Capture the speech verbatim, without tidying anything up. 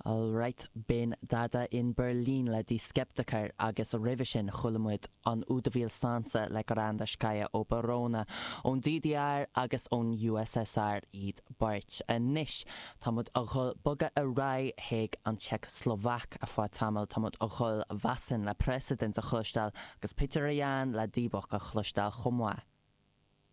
Alright b'in Dada in Berlin le Die Skeptiker agus roimhe sin chuala muid an Udavil Sansa le Garandaskaya ó Barona ón DDR agus ón USSR iad beirt. Anois Táimid ag dul bogadh ar aghaidh chuig an tSeicshlovaic ar feadh tamaill táimid ag dul Vasen le President a chloisteáil agus Petr Ján le Dybbuk a chloisteáil chomh maith.